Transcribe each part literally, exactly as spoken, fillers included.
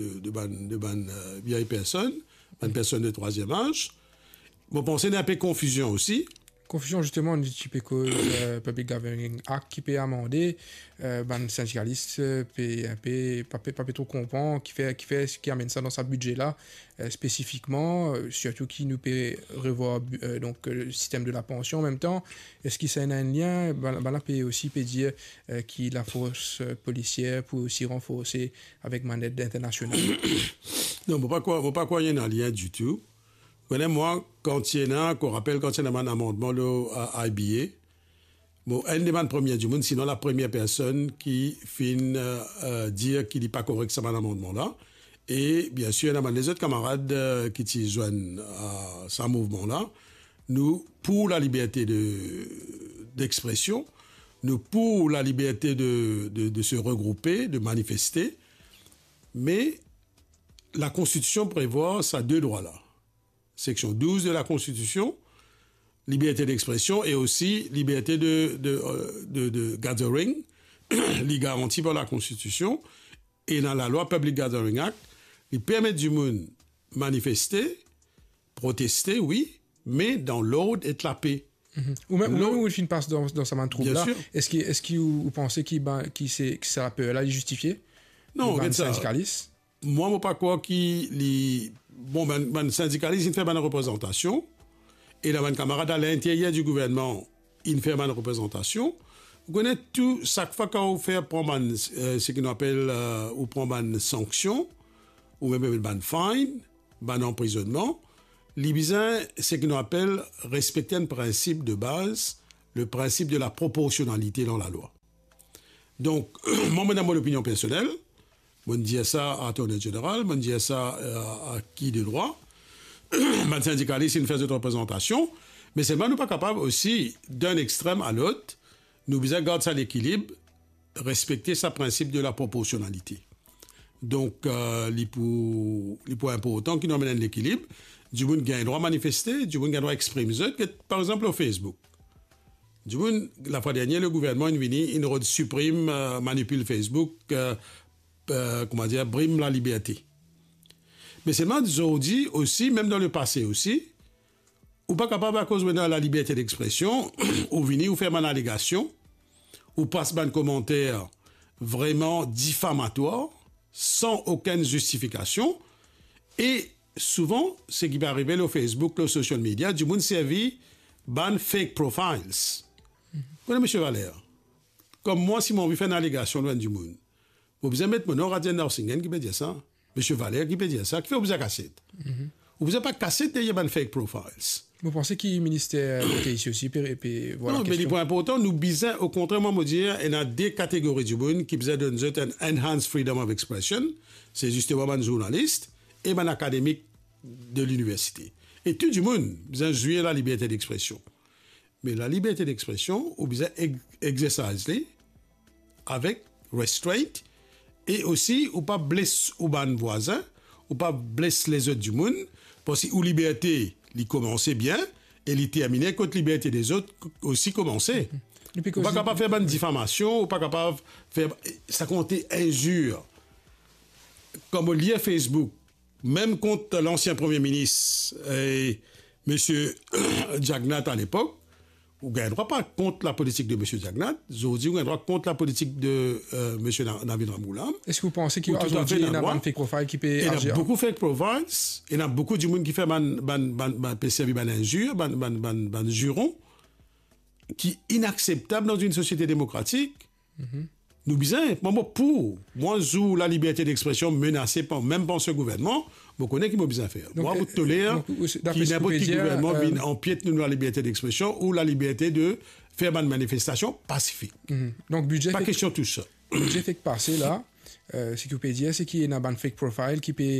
de, de bann, de bann, euh, vieilles personnes, bann personnes de troisième âge. Mo panse ena inpe konfizion osi. Konfizion, zisteman, nou ti pe koz, euh, Public Gathering Act ki pe amande, euh, bann sindikalis, euh, pe inpe, pa pe, pa pe tro konpran kifer, kifer, ki amenn sa dan sa bidze la, euh, spesifikman, euh, sirtou ki nou pe revwar, euh, donk, euh, le sistem de la pansion an mem tan. Eski sa ena enn lien? Bann, bann la pe osi pe dir, euh, ki lafors, euh, polisier pou osi ranforse avek bann led internasional. Non, mo pa krwar, mo pa krwar ena lien ditou. Kone mwa, kan ti ena, mo rapel kan ti ena bann amandman lor, euh, I B A, mo enn de bann premie dimoun, sinon lapremier personn ki finn, euh, euh, dir ki li pa korek sa bann amandman la. E biensir, ena bann lezot kamarad, euh, ki ti zwenn, euh, sa mouvman la. Nou pou laliberte de, dexpresion, nou pou laliberte de, de, de se regroupe, de manifeste, me Lakonstitision prevwar sa de drwa la. Seksion douz de Lakonstitision, liberte dexpresion e osi liberte de, de, euh, de, de gathering, li garanti par Lakonstitision, e ena lalwa Public Gathering Act, li permet dimoun manifeste, proteste, wi, me dan lord ek lape. Mhm. Ou mem, ou mem, ou finn pas dan, dan sa bann troub la. Biensir. Eski, eski ou, ou panse ki, ben, ki se, ki sa laper la, li zistifie? Non, bann gete sa. Sindikalis? Mwa, mo pa krwar ki li, bon, bann, bann sindikalis, inn fer bann reprezantasion, e ena bann kamarad alinteryer di gouvernman, inn fer bann reprezantasion. Ou kone tou, sak fwa kan ou fer pran bann, euh, seki nou apel, euh, ou pran bann sanksion, ou mem bann fine, bann anprizonnman, li bizin seki nou apel respekte enn prinsip de baz, le principe de la proportionnalité dan lalwa. Donk, mwa, mo ena mo lopinion personel, mo dir sa Attorney General, mo dir sa, euh, a ki de drwa, bann sindikalis inn fer zot reprezantasion, me selman nou pa kapav osi, dan enn extrem a lot, nou bizin gard sa lekilib, respekte sa prinsip de la proporsionalite. Donk, euh, li pou, li pou inportan ki nou amenn enn lekilib. Dimoun gagn drwa manifeste, dimoun gagn drwa exprim zot, get, par exanp, lor Facebook. Dimoun, lafwa dernie, le gouvernman inn vini, inn rod siprim, euh, manipil Facebook, euh, euh, kouma dir, brim laliberte. Me selman, zordi osi, mem dan lepase osi, ou pa kapav, akoz ou ena laliberte dexpresion, ou vini, ou fer bann alegasion, ou pas bann komanter vreman difamatwar, san okenn zistifikasion, e souvan, seki pe arive lor Facebook, lor social media, dimoun servi bann fake profiles. Kone, Misie Valère, kom mwa, si mo anvi fer enn alegasion lor enn dimoun, mo bizin met mo nom, Radian Narsinghan ki pe dir sa, Misie Valère ki pe dir sa, kifer ou bizin kasiet? Mhm. Ou bizin pa kasiet deryer bann fake profiles. Mo panse ki minister kote isi osi pe, pe, vwala, non, me li kestion. Pwen inportan, nou bizin, okontrer, mwa, mo dir, ena de kategori dimoun ki bizin donn zot enn enhanced freedom of expression, se zisteman bann zournalis e bann akademik de liniversite. E tou dimoun bizin zwir laliberte dexpresion. Me laliberte dexpresion, ou bizin ex-, exercise li avek restraint, e osi ou pa bles ou bann vwazin, ou pa bles lezot dimoun, parski ou liberte, li koumanse bien, e li termine kot liberte lezot osi koumanse. Ou pa kapav fer bann difamasion, ou pa kapav fer sa ki enn inzir. Kan mo lir Facebook, mem kont lansien premie minis, eh, Misie Jagannath alepok, ou gagn drwa pa kont lapolitik de Misie Jagannath, zordi ou gagn drwa kont lapolitik de, eh, Misie Na-, Navin Ramgoolam. Eski ou panse ki zordi ena bann fake profile ki pe azir? Ena boukou fake profiles, ena boukou dimoun ki fer bann, bann, bann, bann, pe servi bann inzir, bann, bann, bann, bann ziron, ki inakseptab dan enn sosiete demokratik. Mhm. Nou bizin, mwa, mo pou, mwa, zour laliberte dexpresion menase par, mem par se gouvernman, mo kone ki mo bizin fer. Donk, mwa, eh, mo toler donk, ou, dapre ki ninport ki gouvernman, eh, vinn anpiet nou laliberte dexpresion ou laliberte de fer bann manifestasion pasifik. Mhm. Donk, bidze pa kestion tou sa. Bidze fek pase la, eh, seki ou pe dir, se ki ena bann fake profile ki pe,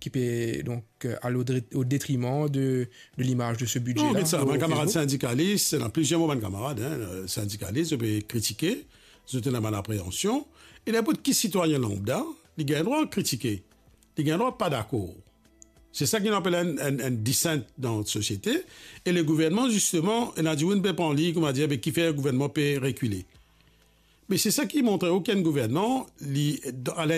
ki pe, donk, eh, al o dre-, o detriman de, de limaz de se bidze la. Non, get sa, bann kamarad sindikalis, ena plizier mo bann kamarad, hein, eh, sindikalis, zot pe kritike, zot ena bann apreansion, e ninport ki sitwayin lanbda, li gagn drwa kritike, li gagn drwa pa dakor. Se sa ki nou apel enn, enn, enn dissent dan sosiete, e le gouvernman, zisteman, ena dimoun pe pran li, koumadir, be kifer gouvernman pe rekile. Me se sa ki montre okenn gouvernman, li, dan, a lin-,